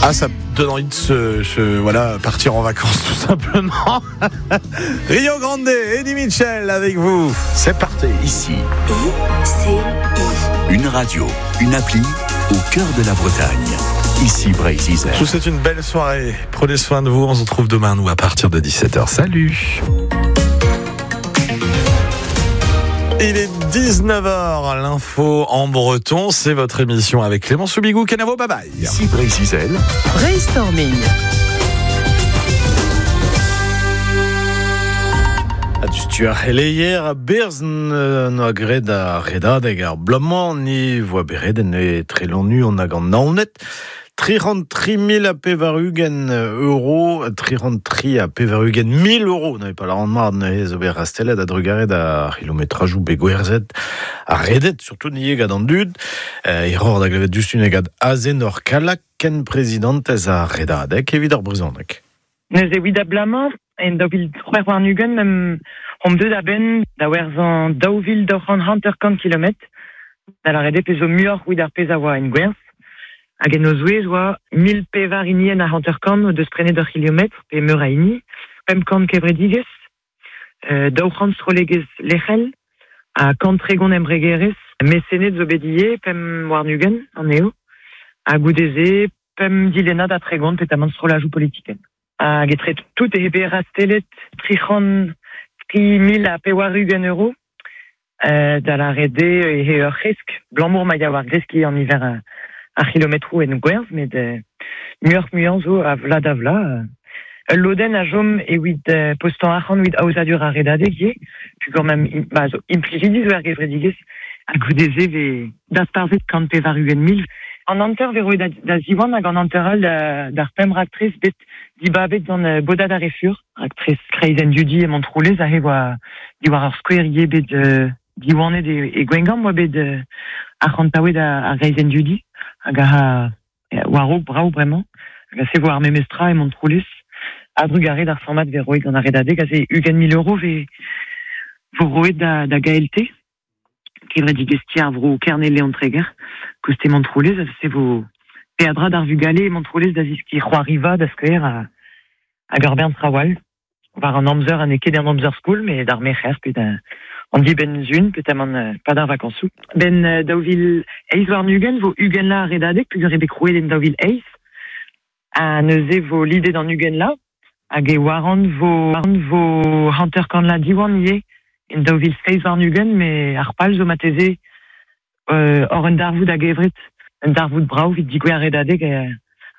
Ah, ça donne envie de se, voilà, partir en vacances tout simplement. Rio Grande, Eddie Mitchell avec vous. C'est parti. Ici. I C I. Une radio, une appli au cœur de la Bretagne. Ici Breizh Izel. Je vous souhaite une belle soirée. Prenez soin de vous. On se retrouve demain, nous, à partir de 17h. Salut. Il est 19h, l'info en breton, c'est votre émission avec Clément Soubigou. Kenavo, bye bye. Ici Breizh Izel. Brainstorming. A du ar c'heleier a berz noa graet ar redadeg ar bloaz-mañ ni voa beret en e trelonu an hag an Naoned. 303 080 euro, 383 000 euros, n'avait pas la rendement neuze zo bet rastelet a drugaret a kilometrajou bet gwerzet a redet, surtout nie gant an dud. Iror da glevet dustun gant Azenor Kalak ken prezidentez a redadeg evit ar brezhoneg. Neuze evit a blamañ, en 2023 mem hom deut a-benn da werzhañ 2250 kilometr, da lâret eo pezh zo muioc'h evit ar pezh a oa en gwerzh. Hag en o zouez oa 1004 hinienn ha 50 o deus prenet ur c'hilometr pe meur a hini, 500 kevredigezh, 200 strollegezh lec'hel, ha 130 embregerezh, mesened zo bet ivez, 25 anezho, ha goude-se pemp dilennad ha 30 petamant strollajoù politikel. Hag etre tout e bet rastelet 303 080 euro, da lâret eo e ur c'hresk, blamour ma ya war greskiñ an niver a c'hilometroù en gwerzh, met muioc'h muiañ zo a vla da vla. Ul lodenn a chom evit postañ arc'hant evit aozadur ar redadeg ivez, pugur mem ba, zo implijidi zo er gevredigezh, ha goude-se vez dasparzhet 180 000. An hanter vez roet da Ziwan hag an hanter all d'ar pemp raktres bet dibabet gant bodad ar Refur, raktres kreizenn dudi e Montroulez, aze oa diwar ar skouer ivez bet diwanet e Gwengamp oa bet arc'hantaouet ar greizenn dudi, hag a war-raok brav bremañ, hag a se vo ar memestra e Montroulez, a drugarez d'ar format vez roet gant ar redadeg, aze 20 000 euro vez vo roet da GALT, kevredigezh ti ar vro Kerne Leon Treger, koste Montroulez, a se vo peadra d'ar vugale e Montroulez da ziski c'hoariva da skouer hag ur bern trawal, war an amzer ha n'eo ket an amzer skol, met d'ar merc'her pe da an dibenn zun, petamant pa d'ar vakansoù. Ben 2028 vo 20 la redadeg, pugur eo bet krouet en 2008, ha neuze vo lidet an 20 la, hag e warant vo 50 la Diwan ivez, en 2027, met ar pal zo mateze hor un darvoud hag evret, un darvoud brav evit digouezh ar redadeg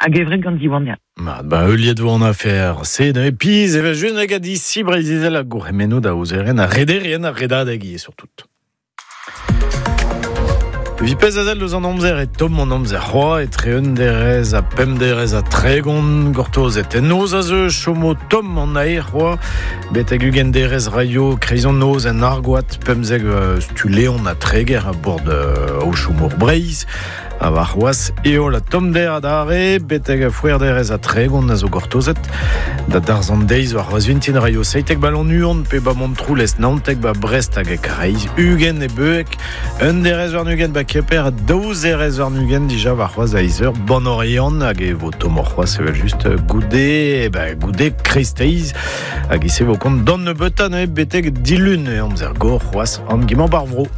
hag evret gant Diwan, ya. Ma, ba, heuliet vo an afer se da piz evel just hag a disi Breizh Izel a gourc'hemennoù da ouzeren a rederien ar redadeg ivez surtout. Vi pezh a sell deus an amzer e tomm an amzer c'hoa etre un derez ha pemp derez ha 30 gortozet. En noz a zeu chomo tomm an aer c'hoa betek 20 derez raio kreiz an noz en Argoat 15 stu Leon ha Treger a bord aochou-mor Breizh. A war c'hoaz heol ha tommder adarre betek c'hwec'h derez ha 30 a zo gortozet. Da darzh an deiz war c'hoaz vintin raio 17 ba Lannuon pe ba Montroulez 19 ba Brest hag e Karaez 20 e Beueg 21 ba Kemper 22 dija war c'hoaz a izeur ban Oriant hag e vo tommoc'h c'hoaz evel just goude, ba, goude kreisteiz hag e se vo kont d'an nebeutañ neuze betek dilun e amzer gor c'hoaz an gimañ bar vro.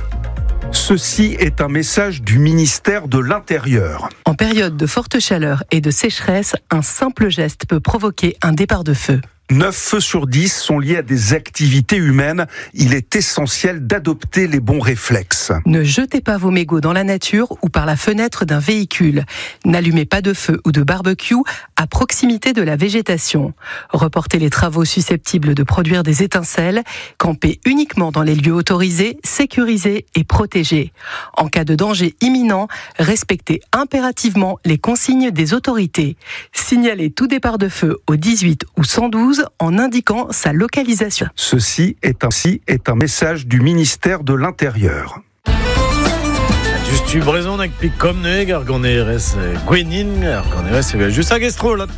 Ceci est un message du ministère de l'Intérieur. En période de forte chaleur et de sécheresse, un simple geste peut provoquer un départ de feu. 9 feux sur 10 sont liés à des activités humaines. Il est essentiel d'adopter les bons réflexes. Ne jetez pas vos mégots dans la nature ou par la fenêtre d'un véhicule. N'allumez pas de feu ou de barbecue à proximité de la végétation. Reportez les travaux susceptibles de produire des étincelles. Campez uniquement dans les lieux autorisés, sécurisés et protégés. En cas de danger imminent, respectez impérativement les consignes des autorités. Signalez tout départ de feu au 18 ou 112 en indiquant sa localisation. Ceci est un message du ministère de l'Intérieur. Just tu brezhoneg pik kom neuze ar ganerez Gwenin, ar ganerez evel just hag estro là.